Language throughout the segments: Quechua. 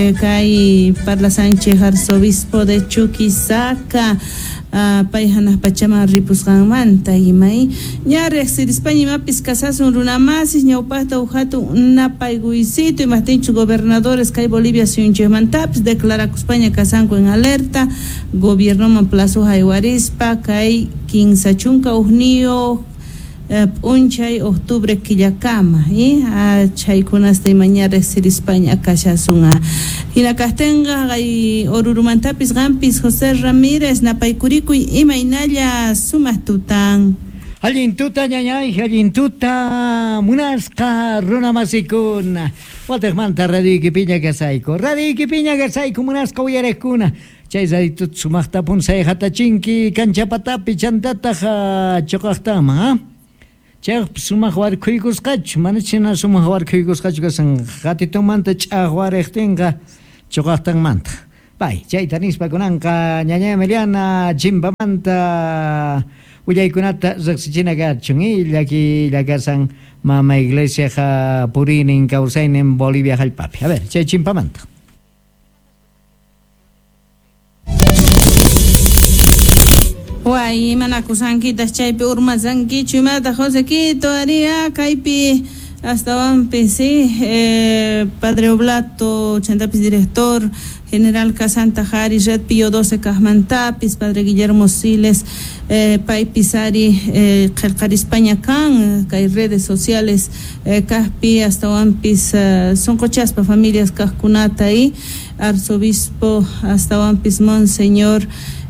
Kay parlasanchik arzobispo de Chuquisaca pay hanaq pachaman ripusqanmanta imay ña riqsirispaña imapis kasasun runamasis ñawpaqta huk hatun napaykuysito imaptinchus gobernadores kay Bolivia suyunchikmantapis declarakuspaña kasanku en alerta gobiernoman plazo haywarispa kay 31 p'unchay octubre killakama chaykunasta imaña riqsirispaña kashasun. Hina kaqtinqa kay Orurumantapis qampis José Ramírez napaykurikuy imaynalla sumaq tutan. Allin tuta ñañay, allin tuta munasqa runamasikuna. Wataqmanta radioykipiña kasayku. Radioykipiña kasayku munasqa uyariqkuna. Chay raditut sumaqta punsay hatachinki kanchapatapi chantataq chuqaqtama, ha? Chayqa sumaq warkhuykusqachu, mana chhina sumaq warkhuykusqachu kasan qatitumanta ch'aqwariqtinqa chuqaqtanmanta. Pay, chayta nispa kunanqa ñaña Emiliana chimpamanta willaykunata riqsichina kachun, llaki llakasan mama iglesiaqa puriynin kawsaynin Bolivia hallp'api. A ver, chay chimpamanta. Way, imanakusankitas chaypi urmasankichu imata José Quito aria kaypi astawanpis sí, Padre Oblato chantapis director general Casanta Jari Red Pío 12 kaqmantapis Padre Guillermo Siles paypis ari qillqarispaña kan kay redes sociales kaqpi astawanpis sunquchaspa familias kaqkunata y arzobispo astawanpis Monseñor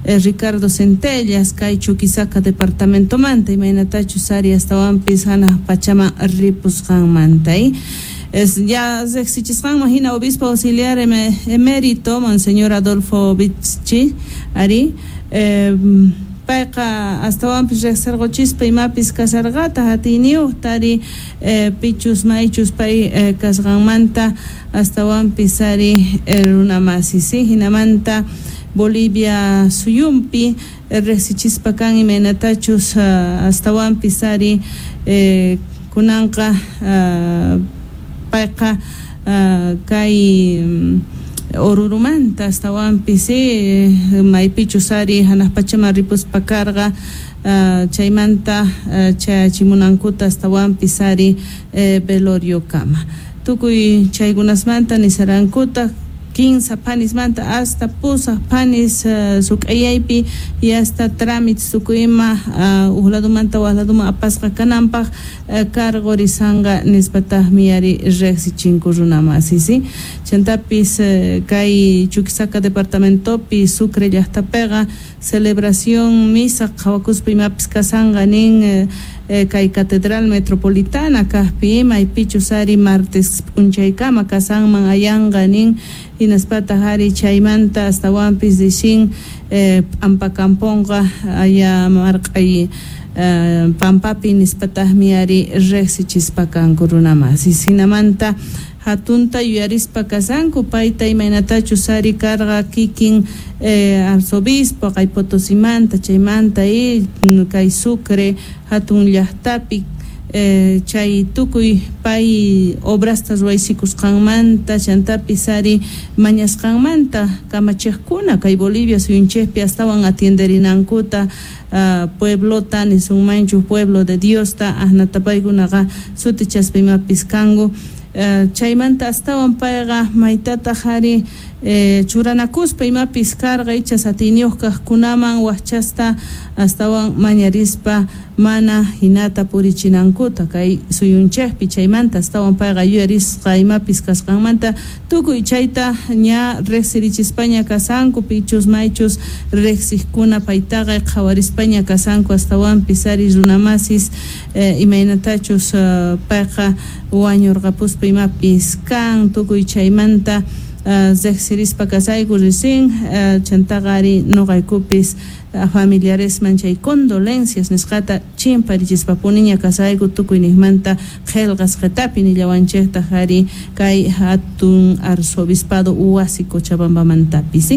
Ricardo Centellas kay Chuquisaca departamentomanta imaynatachus ari astawanpis hanaq pachaman ripusqanmanta es ya riqsichisqanman hina obispo auxiliar emérito Monseñor Adolfo Witschi ari payqa astawanpis riqsirquchispa imapis kasarqata hatiyniyuqta ari pichus maychus pay kasqanmanta astawanpis ari runamasis hinamanta Bolivia suyumpi riqsichispa kan imaynatachus astawanpis ari kunanqa payqa kay Orurumanta astawanpis maypichus ari hanaq pachaman ripuspa karqa chaymanta chayachimunankuta astawanpis ari veloriokama tukuy chaykunasmanta nisarankuta 15 panismanta hasta pusaq panis suk'ayaypi y hasta trámites tukuyma huk ladumanta wak laduman apasqa kananpaq cargorisanqa nispataqmi ari riqsichinku runamasis chantapis kay Chuquisaca departamentopi Sucre llaqtapiqa celebración misa qhawakuspa imapis kasanqa nin kay catedral metropolitana kaqpi maypichus ari martes p'unchaykama kasanman ayanqa nin hinaspataq ari chaymanta astawanpis rishin p'ampakampunqa aya marq'ay pampapi nispataqmi ari riqsichispa kanku runamasis hinamanta hatunta yuyarispa kasanku payta imaynatachus ari karqa kikin arzobispo kay Potosimanta chaymanta kay Sucre hatun llaqtapi chay tukuy pay obrasta ruwaysikusqanmanta chantapis ari mañasqanmanta kamachiqkuna kay Bolivia suyunchikpi astawan atienderinankuta pueblota nisunmanchu pueblo de Diosta ahnata paykunaqa sutichaspa imapis kanku chaymanta astawan payqa maytataq ari churanakuspa imapis karqa ichas atiyniyuq kaqkunaman waqchasta astawan mañarispa mana hinata purichinankuta kay suyunchikpi chaymanta astawan payqa yuyarisqa imapis kasqanmanta tukuy chayta ña riqsirichispaña kasanku pichus maychus riqsiqkuna paytaqa qhawarispaña kasanku astawanpis ari runamasis imaynatachus payqa wañurqapuspa imapis kan tukuy chaymanta riqsirispa kasayku risin chantaqa ari nuqaykupis familiaresman chay condolencias nisqata chimparichispapuniña kasayku tukuyniqmanta qillqasqatapi nillawanchiktaq ari kay hatun arzobispado wasi Cochabambamantapis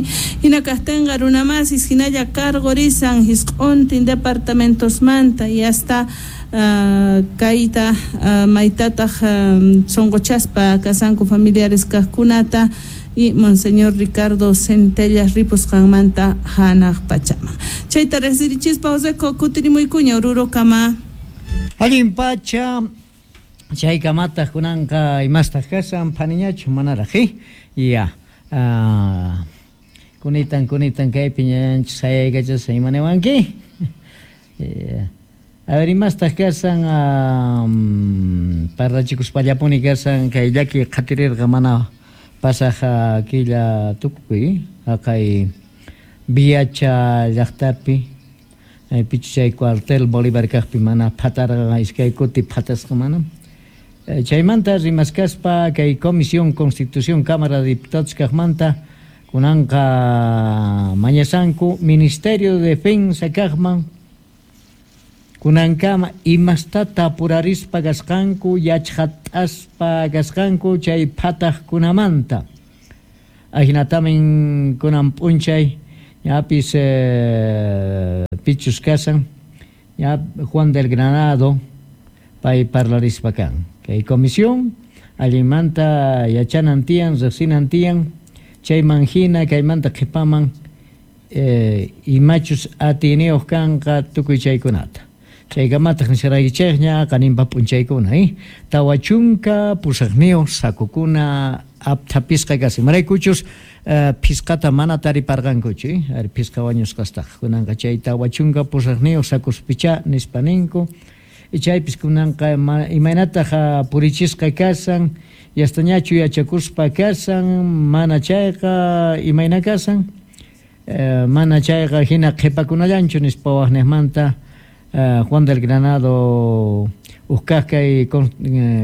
hina kaqtinqa runamasis hinalla cargorisan hisq'untin departamentosmanta y hasta kayta maytataq sunquchaspa kasanku familiares kaqkunata y Monseñor Ricardo Centellas ripusqanmanta hanaq pachaman. Chayta riqsirichispa Joseco kutirimuykuña Orurokama. Allin pacha chaykamataq kunanqa imastaq kasan phaniñachu manaraq ya kunitan kunitan kaypi ñañanchis sayaykachasqa imaniwanki. A ver, imastaq kasan parlachikuspallapuni kasan kay llaki qhatirirqa mana pasaq killa tukukuy haqay Viacha llaqtapi pichu chay cuartel Bolívar kaqpi mana phatarqa iskay kuti phatasqa mana. Chaymanta rimaskaspa kay Comisión Constitución Cámara de Diputados kaqmanta kunanqa mañasanku Ministerio de Defensa kaqman kunankama imastata apurarispa kasqanku yachqat'aspa kasqanku chay phataqkunamanta. Ahinatamin kunan p'unchay ñapis pichus kasan ña Juan del Granado pay parlarispa kan. Kay comisión allinmanta yachanan tiyan riqsinan tiyan chayman hina kaymanta qhipaman imachus atiyniyuq kanqa tukuy chaykunata. Chaykamataq nisharaykichikña qaninpa p'unchaykuna 48 sakukuna apthapisqa kasan imaraykuchus phisqata mana tariparqankuchu ari phisqa wañusqastaqa kunanqa chay 48 sakuspichá nispa ninku chaypis kunanqa imaynataq purichisqa kasan yastañachu yachakuspa kasan mana chayqa imayna kasan mana chayqa hina qhipakunallanchu nispa waqniqmanta Juan del Granado uqkaq kay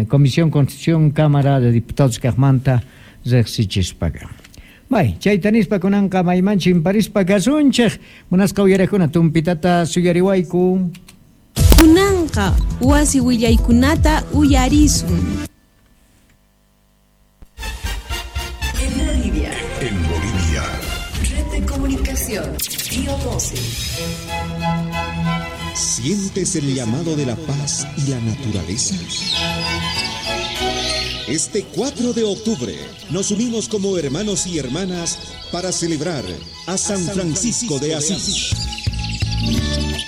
Comisión Constitución Cámara de Diputados kaqmanta riqsichispaqa. May, chayta nispa kunanqa maymanchu imparispa kasunchik munasqa uyarakuna tumpitata suyariwayku. Kunanqa wasi willaykunata uyarisun. En Bolivia. En Bolivia. Red de Comunicación, Pío 12. ¿Sientes el llamado de la paz y la naturaleza? Este 4 de octubre nos unimos como hermanos y hermanas para celebrar a San Francisco de Asís.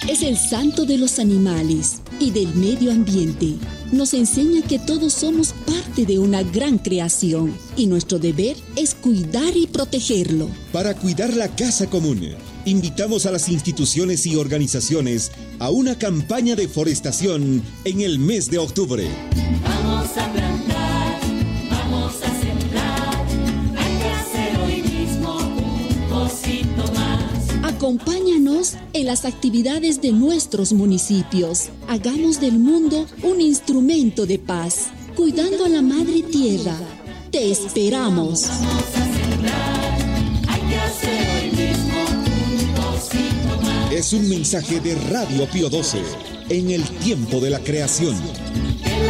Es el santo de los animales y del medio ambiente. Nos enseña que todos somos parte de una gran creación y nuestro deber es cuidar y protegerlo. Para cuidar la casa común, invitamos a las instituciones y organizaciones a una campaña de forestación en el mes de octubre. Vamos a plantar, vamos a sembrar, hay que hacer hoy mismo un pocito más. Acompáñanos en las actividades de nuestros municipios. Hagamos del mundo un instrumento de paz, cuidando a la madre tierra. Te esperamos. Vamos a sembrar, hay que hacer hoy mismo un pocito más. Es un mensaje de Radio Pío 12, en el tiempo de la creación.